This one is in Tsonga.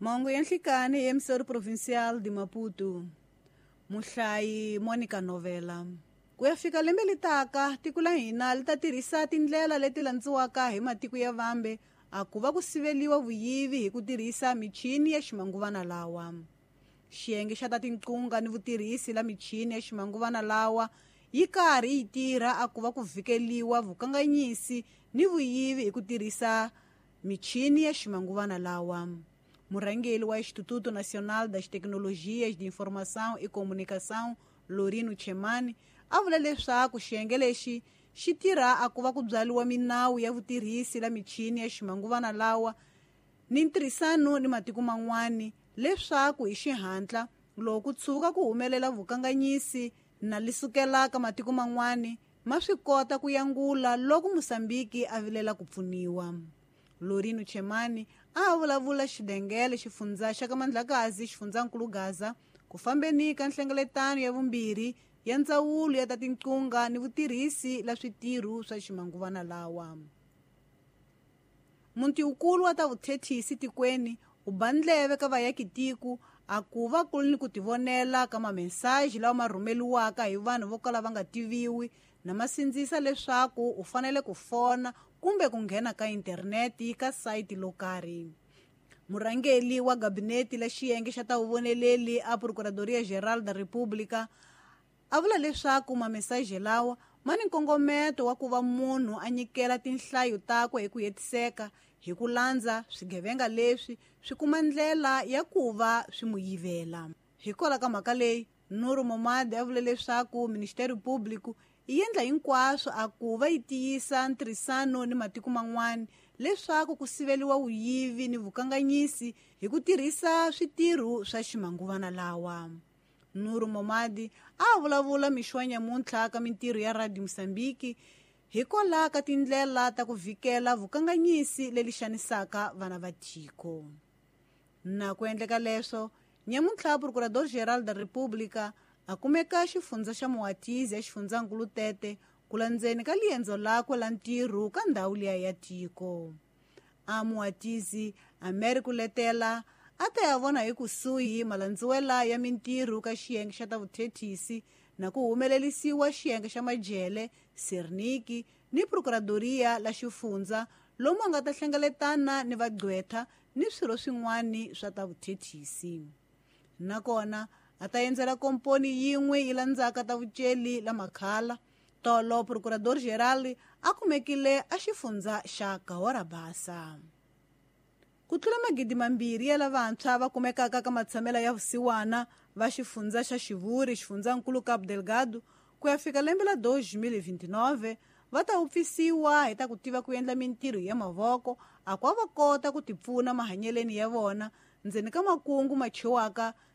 Mahungu ya nhlikani hi Emissor Provincial de Maputo. Muhlayi Monica Novela. Ku ya fika lembe li taka, tiko la hina li ta tirhisa tindlela leti landziwaka hi matiko ya vambe a ku va ku siveliwa vuyivi hi ku tirhisa michini ya ximanguvana lawa. Xiyenge xa ta tinqunga ni vutirhisi la michini ya ximanguvana lawa yi karhi yi tirha a ku va ku vhikeliwa vukanganyisi ni vuyivi hi ku tirhisa michini ya ximanguvana lawa. Murhangeri wa Instituto Nacional das Tecnologias de Informação e Comunicação, Lorino Chemani, a vula leswaku xiyenge lexi xi tirha a ku va ku byariwa minawu ya vutirhisi la michini ya ximanguvana lawa ni ntirhisano ni matiko man'wani leswaku hi xihatla loko ku tshuka ku humelela vukanganyisi na li sukela ka matiko man'wani ma swi kota ku yangula loko Mosambiki a vilela ku pfuniwa. Lorino Chemani a vulavula xidengele xifundza xa ka Mandlakazi xifundzankulu Gaza ku fambeni ka nhlengeletano ya vumbirhi ya ndzawulo ya ta tinqunga ni vutirhisi la switirho swa ximanguvana lawa. Muti wukulu wa ta vuthethisi tikweni u ba ndleve ka vayakitiko a ku va ku ri ni ku tivonela ka mamesaji lawa ma rhumeliwaka hi vanhu vo kala va nga tiviwi na ma sindzisa leswaku u fanele ku fona kumbe ku nghena ka interneti ka sayiti lo karhi. Murhangeri wa gabinete la xiyenge xa ta vuvoneleli a Procuradoria Geral da República a vula leswaku mamesaji lawa ma ni nkongometo wa ku va munhu a nyikela tinhlayo takwe hi ku hetiseka hi ku landza swigevenga leswi swi kuma ndlela ya ku va swi mu yivela. Hikwalaho ka mhaka leyi, Nuru Momadi a vule leswaku Ministério Público yi endla hinkwaswo a ku va yi tiyisa ntirhisano ni matiko man'wana leswaku ku siveliwa vuyivi ni vukanganyisi hi ku tirhisa switirho swa ximanguvana lawa. Nuru Momadi a vulavula mixo wa nyamuntlha ka mintirho ya Radio Mosambiki hikwalaho ka tindlela ta ku vhikela vukanganyisi leli xanisaka vana va tiko. Na ku endleka leswo, nyamuntlha Procurador Geral da República a kumeka xifundza xa Moatize ya xifundzankulu Tete ku landzeni ka liendzo lakwe la ntirho ka ndhawu liya ya tiko. A Moatize a mere ku letela a ta ya vona hi kusuhi malandziwela ya mintirho ka xiyenge xa ta vuthethisi na ku humelerisiwa xiyenge xa majele, Serniki ni Procuradoria la xifundza lomu a nga ta hlengeletana ni vagqwetha ni swirho swin'wana swa ta vuthethisi. Nakona a ta endzela komponi yin'we yi landzaka ta vuceli la makhala. Tolo Procurador Geral a kumekile a xifundza xa Cahora Bassa. Ku tlula 2,000 ya lavantshwa va kumekaka ka matshamela ya vusiwana va xifundza xa Xivuri xifundzankulu Cabo Delgado ku ya fika lembe la 2029 va ta wupfisiwa hi ta ku tiva ku endla mintirho ya mavoko a ku va kota ku tipfuna mahanyeleni ya vona ndzeni ka makungu ma chiwaka.